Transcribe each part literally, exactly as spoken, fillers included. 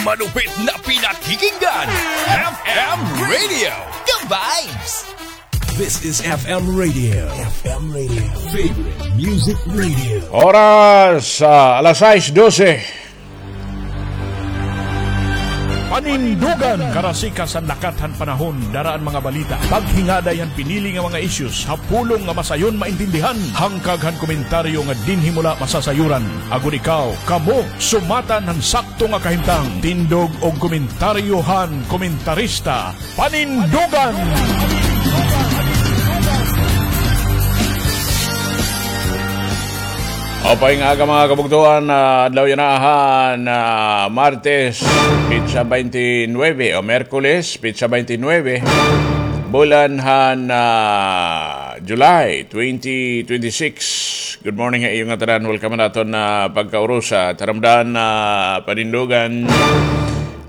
Malupit na pinakikinggan. F M Radio, The Vibes. This is F M Radio. F M Radio. Favorite music radio. Oras, ah, alas sais dose. Panindugan. Karasikas han lakat han panahon, dara an mga balita, paghingaday han pinili nga mga issues ha pulong nga masayon maintindihan, hangkag han komentaryo nga dinhi mo la masasayoran. Agod ikaw, kamo, sumatan han sakto nga kahimtang. Tindog og komentaryo han komentarista. Panindugan! Maupay nga aga, mga kabugtoan, ah, adlaw yana han, ah, Martes, petsa twenty-nine o Miyerkules, petsa twenty-nine, bulan han, ah, July twenty twenty-six. Good morning ha iyo ngatanan. Welcome han aton, ah, pagkaurusa. Taramdan, ah, Panindugan.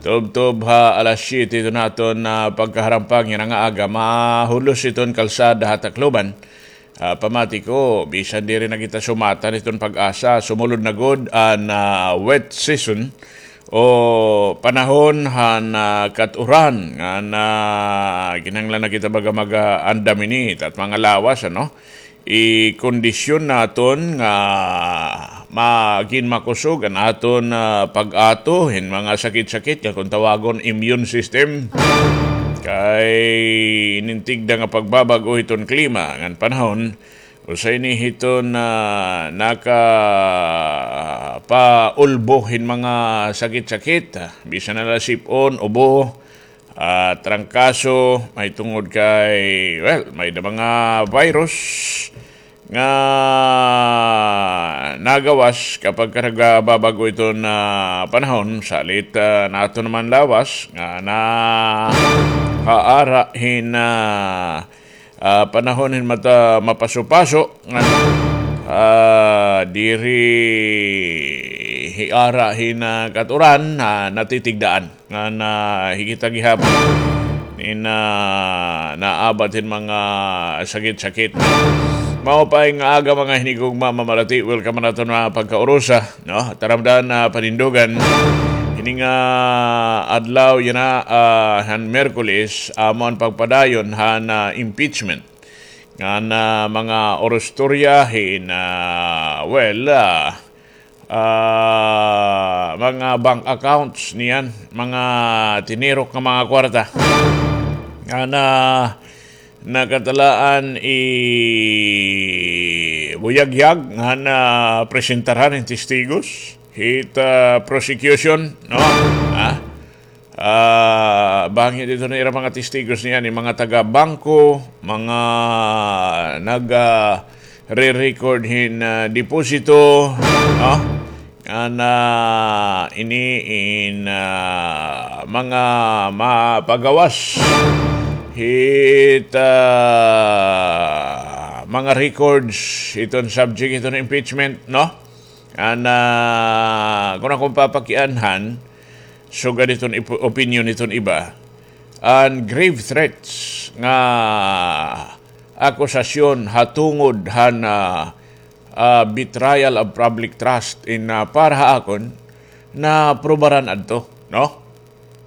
Tubtob ha alas siyete iton aton, ah, pagkaharampang yana nga aga, mahulos iton kalsada ha Tacloban. Ah, pamati ko, bisan diri na kita sumatan iton pag-asa, sumulod na gud an, ah, wet season o panahon han, ah, kat-uran nga na kinahanglan na kita baga mag-, ah, andam ini, it at mga lawas, ano? Ikondisyon naton nga magin makusog an aton, ah, pag-ato hin mga sakit-sakit nga kon tawagon immune system. Kay inintigda nga pagbabag-o hiton klima ngan panahon, usa ini hiton, ah, nakapaulbo hin mga sakit-sakit, ah, bisan na la sip-on, ubo, ah, trangkaso, mahitungod kay, well, may-ada mga virus nga nagawas kapag ka nagbabag-o iton panahon, salit, ah, naton naman lawas nga nahaara hin, ah, ah, panahon hin mata-, mapaso-paso, nga, ah, diri hiara hin, ah, kat-uran, ah, natitigdaan. Nga na, hi kita gihapon hin, ah, naabat hin mga sakit-sakit. Maupay nga aga, mga hinigugma, mamalati. Welcome han aton mga pagkaurusa, no? Taramdan, ah, Panindugan. Hini nga adlaw yana, ah, han Miyerkules, amo an pagpadayon han, ah, impeachment ngan mga orostorya hin, ah, well, ah, ah, mga bank accounts niyan, mga tinirok nga mga kwarta. Nga na, nakatalaan ibuyagyag nga na presentaran hin testigos hit, ah, prosecution, no? Ha? Ah, bangin dito na ira mga testigos niyan, mga taga-bangko, mga nag, ah, re-record hin, ah, deposito, no? Nga na ini in, ah, mga mapagawas hit, ah, mga records hiton subject hiton impeachment, no? Nga na, kon akon papakianhan, sugad hiton ip-, opinyon hiton iba, an grave threats nga akusasyon ha tungod han, ah, ah, betrayal of public trust in, ah, para ha akon, naprubaran adto, no?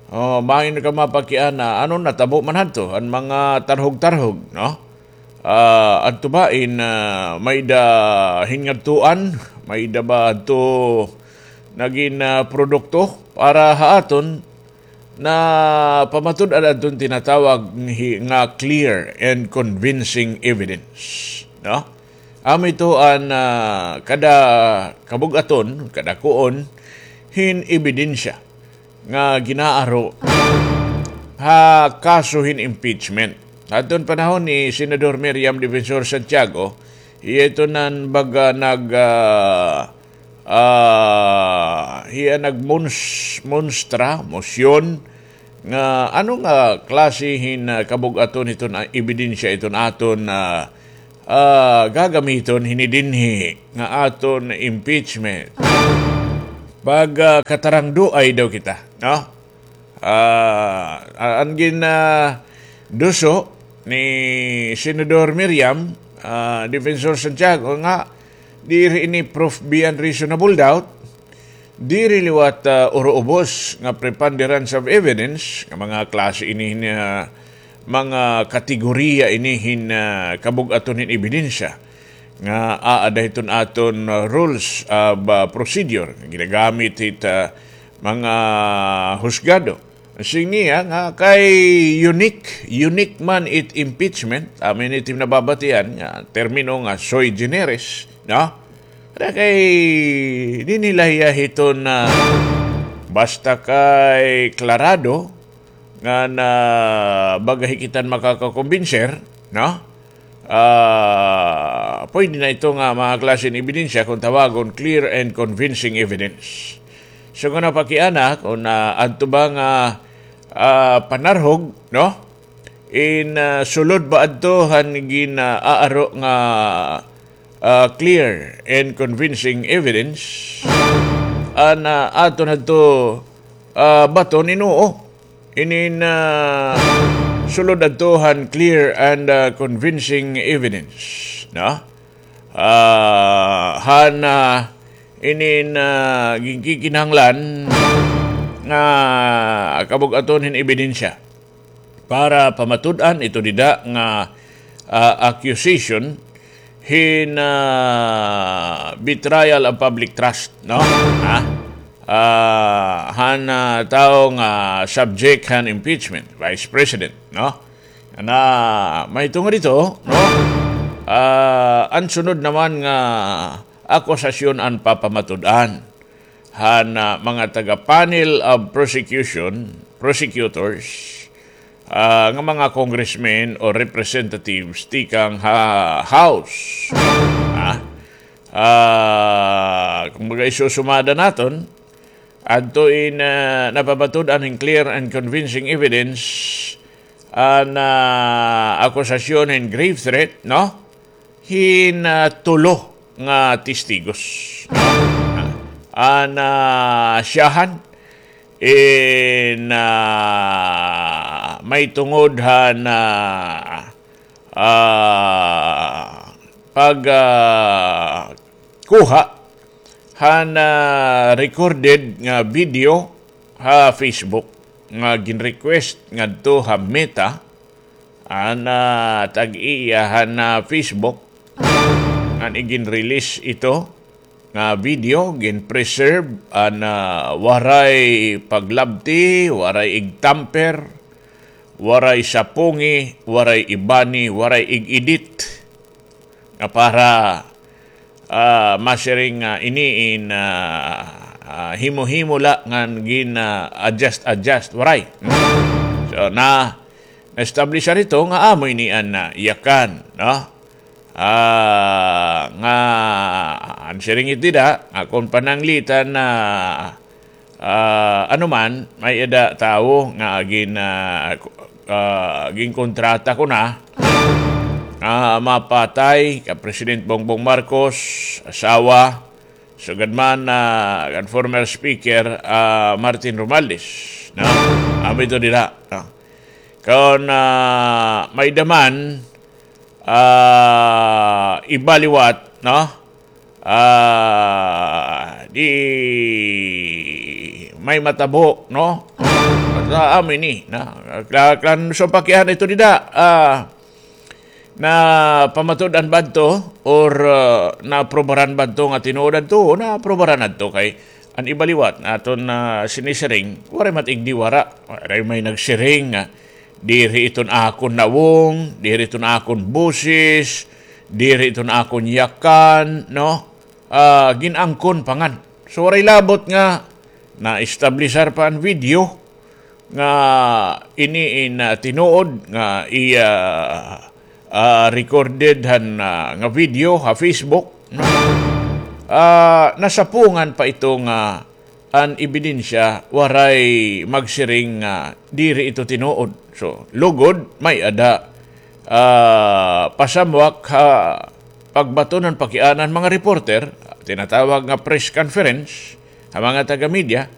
O, bangin ka mapakiana, ano natabo man hadto, an mga tarhog-tarhog, no? Ah, adto ba in, ah, may-ada hin ngadtuan, may-ada ba adto nagin, ah, produkto para ha aton na pamatud-an adton tinatawag hi-, nga clear and convincing evidence, no? Amo ito an, ah, kada kabug-aton, kada kuon hin ebidensya nga ginaaro ha kaso hin impeachment. Hadton panahon ni Senador Miriam Defensor Santiago, hiya ito nan baga nag, ah, ah, hiya nagmons-, monstra, mosyon, nga ano nga klase hin, ah, kabug-aton hiton, ah, ebidensya iton aton, ah, ah, gagamiton hini dinhi nga aton impeachment. Pag, ah, katarangduay daw kita, no? Ah, an gin, ah, duso ni Senador Miriam, ah, Defensor Santiago nga diri ini proof beyond reasonable doubt, Diri liwat, ah, uruubos nga preponderance of evidence, nga mga klase ini hin, ah, mga kategorya ini hin, ah, kabug-aton hin ebidensya nga aada hiton aton, ah, rules of, ah, procedure nga ginagamit hit, ah, mga husgado. Siring niya nga kay unique, unique man it impeachment, amo ini it nababatian nga termino nga sui generis, no? Ada kay dinhi la hiya hiton, ah, basta kay klarado nga na baga hi kita makakakumbinser, no? Ah, pwede na ito nga mga klase hin ebidensya kung tawagon clear and convincing evidence. So, kung napakiana, kung, ah, adto ba nga, ah, panarhog, no? In, ah, sulod ba adto han gin-aaro nga, ah, clear and convincing evidence? An, ah, aton adto, ah, baton in oo. Inin, ah, sulod adto han clear and, ah, convincing evidence, no? Ah, han, ah, inin, ah, ginkikinahanglan nga kabug-aton hin ebidensya para pamatud-an ito dida nga, ah, accusation hin, ah, betrayal of public trust, no? Ha? Ah, han, ah, tawo nga subject han impeachment, Vice President, no? Na mahitungod ito, no? Ah, an sunod naman nga akusasyon an papamatud-an han, ah, mga taga-panel of prosecution, prosecutors, ah, nga mga congressmen o representatives tikang ha House. Ah, ah, kumbaga, isusumada naton, adto in, ah, napamatud-an hin clear and convincing evidence an, ah, akusasyon hin grave threat, no? Hin, ah, tulo nga testigos. An, ah, syahan in, ah, mahitungod han, ah, ah, pag, ah, kuha han, ah, recorded nga video ha Facebook nga gin-request ngadto ha Meta, an, ah, tag-iya han, ah, Facebook, ngan igin-release ito nga video, gin-preserve an, ah, waray paglabti, waray igtamper, waray sapungi, waray ibani, waray ig-edit. Nga para, ah, masiring nga ini in, ah, ah, himo-himo la ngan gin, ah, adjust-adjust, waray. Hmm? So, na, na-establish ito nga amo ini an, ah, yakan, no? Ah, nga, an siring it dida, nga kon pananglitan na, ah, ano man, may-ada tawo nga gin-, ah, ah, ginkontrata kuno nga mapatay kan President Bongbong Marcos, asawa, sugad man, ah, kan former speaker, ah, Martin Romualdez, no? Amo ito dida, no? Kon, ah, may-ada man, ah, iba liwat, no? Ah, di may matabo, no? Basta amo ini, no? Kla-, kan so pakiana ito dida, ah, napamatud-an ba adto or, ah, naaprubaran ba adto nga tinuod adto? Naaprubaran adto kay an iba liwat nga aton, ah, sinisiring, waray man it igdiwara, waray may nagsiring nga diri iton akon nawong, diri iton akon boses, diri iton akon yakan, no? Ah, gin-angkon pa ngani. So, waray labot nga na-establishar pa an video nga ini in, ah, tinuod nga iya, ah, recorded han, ah, nga video ha Facebook, no? Ah, nasapungan pa ito nga an ebidensya, waray magsiring nga diri ito tinuod. So, lugod, may-ada, ah, pasamwak ha pagbaton han pakiana han mga reporter, tinatawag nga press conference, ha mga taga-media,